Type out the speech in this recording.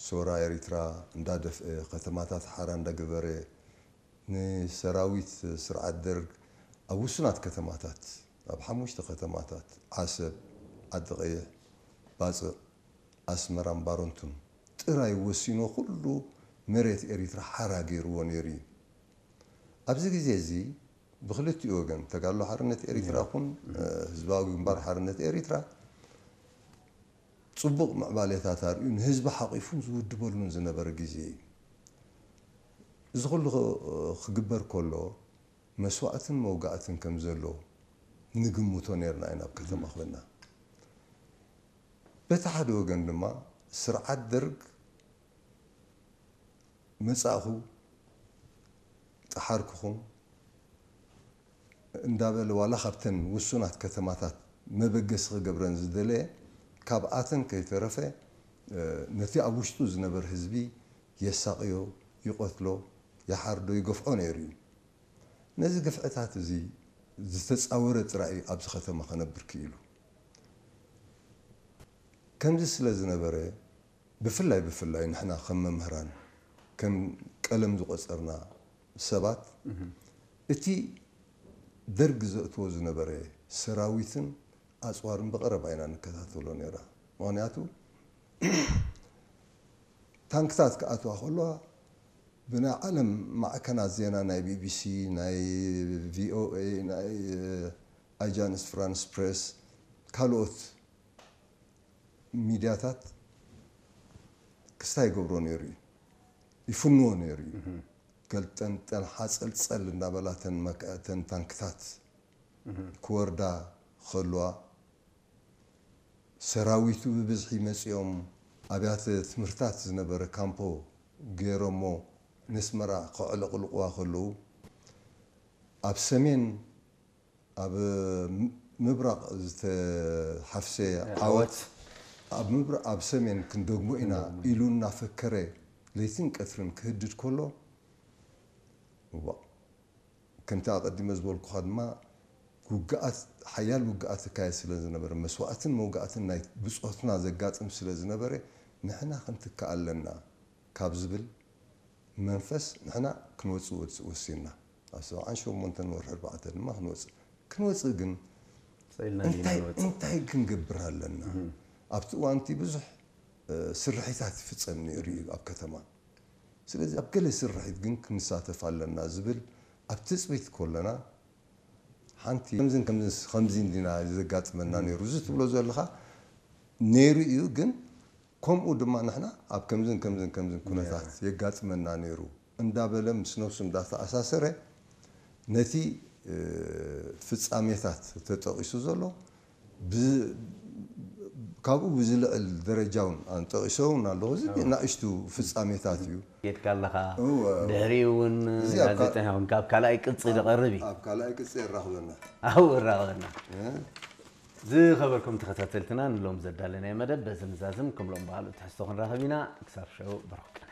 ሶራ ኤሪትራ እንዳደፍአ፣ ከተማታት ሓራ እንዳገበረ፣ ንሰራዊት ስርዓት ደርግ ኣብ ውሱናት ከተማታት፣ ኣብ ሓሙሽተ ከተማታት፣ ዓሰብ፣ ዓዲ ቀይሕ፣ ባጽዕ፣ ኣስመራን ባረንቱን ጥራይ ወሲኑ ኩሉ መሬት ኤሪትራ ሓራ ገይርዎ ነይሩ እዩ። ኣብዚ ግዜ እዚ ብክልቲኡ ወገን ተጋድሎ ሓርነት ኤሪትራ ይኹን ህዝባዊ ግንባር ሓርነት ኤሪትራ ጽቡቕ ምዕባሌታት ኣርእዩ ንህዝቢ ሓቒፉን ዝውድበሉን ዝነበረ ግዜ እዩ። እዚ ኩሉ ክግበር ከሎ መስዋእትን መውጋእትን ከም ዘሎ ንግምቶ ነርና ኢና ኣብ ከተማ ኮይና። በቲ ሓደ ወገን ድማ ስርዓት ደርግ መጻእኹ ጠሓርኩኹም እንዳበለ ዋላ ካብተን ውሱናት ከተማታት መበገሲ ክገብረን ዝደለየ ካብኣተን ከይተረፈ ነቲ ኣብ ውሽጡ ዝነበር ህዝቢ የሳቕዮ፣ ይቐትሎ፣ ይሓርዶ፣ ይገፍዖ ነይሩ እዩ። ነዚ ግፍዕታት እዚ ዝተጻወረ ጥራይ ኣብዚ ከተማ ከነብር ክኢሉ። ከምዚ ስለ ዝነበረ ብፍላይ ብፍላይ ንሕና ከም መምህራን ከም ቀለም ዝቆጸርና ሰባት እቲ ደርግ ዘእትዎ ዝነበረ ሰራዊትን ኣጽዋርን ብቐረባ ኢና ንከታተሎ ነይራ። ምኽንያቱ ታንክታት ክኣትዋ ከለዋ ብናይ ዓለም ማዕከናት ዜና ናይ ቢቢሲ፣ ናይ ቪኦኤ፣ ናይ ኣጃንስ ፍራንስ ፕሬስ፣ ካልኦት ሚድያታት ክስታይ ይገብሮ ነይሩ እዩ፣ ይፍንዎ ነይሩ እዩ። ገልጠንጠን ሓፀልፀል እንዳበላተን መክኣተን ታንክታት ክወርዳ ከለዋ ሰራዊቱ ብብዝሒ መፂኦም ኣብያተ ትምህርታት ዝነበረ ካምፖ ገይሮሞ ነስመራ ከዕለቕልቑዋ ከለዉ ኣብ ሰሜን ኣብ ምብራቕ ዝተሓፍሰ ዓወት ኣብ ምብራቕ ኣብ ሰሜን ክንደግሞ ኢና ኢሉ እናፈከረ ለይትን ቀትርን ክህድድ ከሎ እዋ ከምቲ ኣቐዲመ ዝበልኩኻ ድማ ውግኣት ሓያል ውግኣት ይካየድ ስለ ዝነበረ መስዋእትን መውጋእትን ናይ ብፆትና ዘጋጥም ስለ ዝነበረ ንሕና ክንትካእ ኣለና ካብ ዝብል መንፈስ ንሕና ክንወፅእ ወሲንና ኣብ ሰብዓን ሸሞንተን ወርሒ ኣርባዕተ ድማ ክንወፅእ ክንወፅእ ግን እንታይ ክንገብር ኣለና ኣብቲ እዋንቲ ብዙሕ ስርሒታት ይፍፀም ነይሩ እዩ ኣብ ከተማ ስለዚ ኣብ ገለ ስርሒት ግን ክንሳተፍ ኣለና ዝብል ኣብ ትፅቢት ከለና ሓንቲ ከምዝን ከምዝን ከምዚ እንዲና ዘጋጥመና ነይሩ እዚ ትብሎ ዘለኻ ነይሩ እዩ ግን ከምኡ ድማ ንሕና ኣብ ከምዝን ከምዝን ከምዝን ኩነታት የጋጥመና ነይሩ እንዳበለ ምስ ነብሱ እንዳተኣሳሰረ ነቲ ፍጻሜታት ተጠቒሱ ዘሎ ካብኡ ብዝልዕል ደረጃ እውን ኣንጠቂሰ እውን ኣለኹ እዚ ናእሽቱ ፍጻሜታት እዩ ጌድካ ኣለኻ ድሕሪኡ እውን ጋዜጠኛ እውን ካብ ካልኣይ ቅፂ ዝቐርብ እዩ ኣብ ካልኣይ ቅፂ የራኽበና ኣብኡ እራኸበና ዝኸበርኩም ተኸታተልትና ንሎም ዘዳለናዮ መደብ በዚ ንዛዝም ከምሎም ባህሉ ትሕዝቶ ክንራኸብ ኢና ክሳብ ሸው ብሩክ